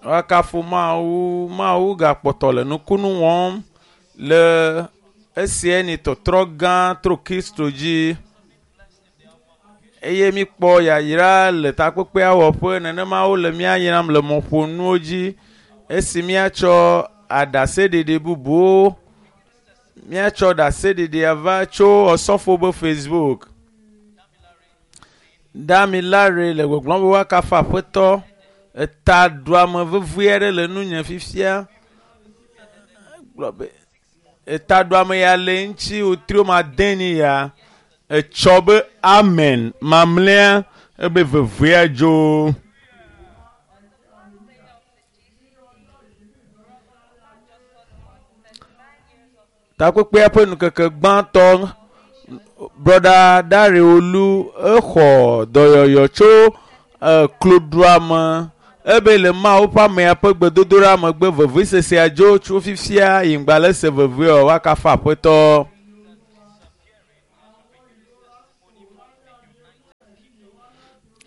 Woakafu Mawu. Mawu gakpɔtɔ le nukunu wɔm le esia ni tɔtrɔ gã tro Kristo dzi eye míkpɔ yayra le takpekpea wɔƒe nenema wole mía yram le mɔƒonuwo dzi esi míatsɔ aɖaseɖiɖi bubuwo míatsɔ ɖaseɖiɖia va tso Osɔfo be Facebook. Damilare le gbɔgblɔm be woakafu Aƒetɔ. Etaɖuame vevie aɖe le nunye fifia. Gblɔ be etaɖuame ya le ŋuti wotrio made ni ya. Etsɔ be amen mamlɛa ebe vevea dzo. Takpekpea ƒe ŋkeke gbãtɔ brɔda Dareolu exɔ dɔyɔyɔ tso kloɖuame ebe le Mawu ƒe amea ƒe gbedodoɖa megbe vevesesea dzo tso fifia yi ŋgba le se veve o woakafu Aƒetɔ.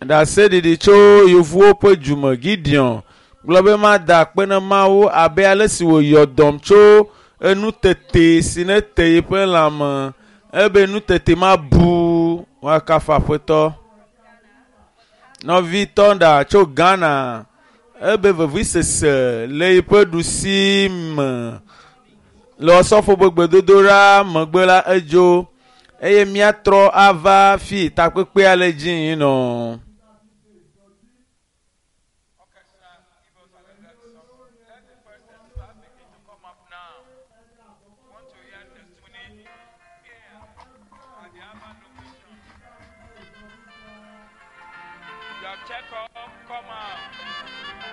Ɖaseɖiɖi tso yevuwo ƒe dume Gideon gblɔ be mada akpe na Mawu abe ale si wòyɔ dɔm tso enutete si ne te yiƒe lãme ebe nutete ma bu woakafu Aƒetɔ. Nɔvi Tɔnda tso Ghana ebe vevisese le yiƒe ɖusi me le Osɔfo ƒe gbedodoɖa megbe la edzo eye míatrɔ ava fi takpekpea le dzi yi nɔ. Orchestra, give us another song. Let the first 35 begin to come up now. Want to hear testimony here at the Aba location. Your checkup, come out.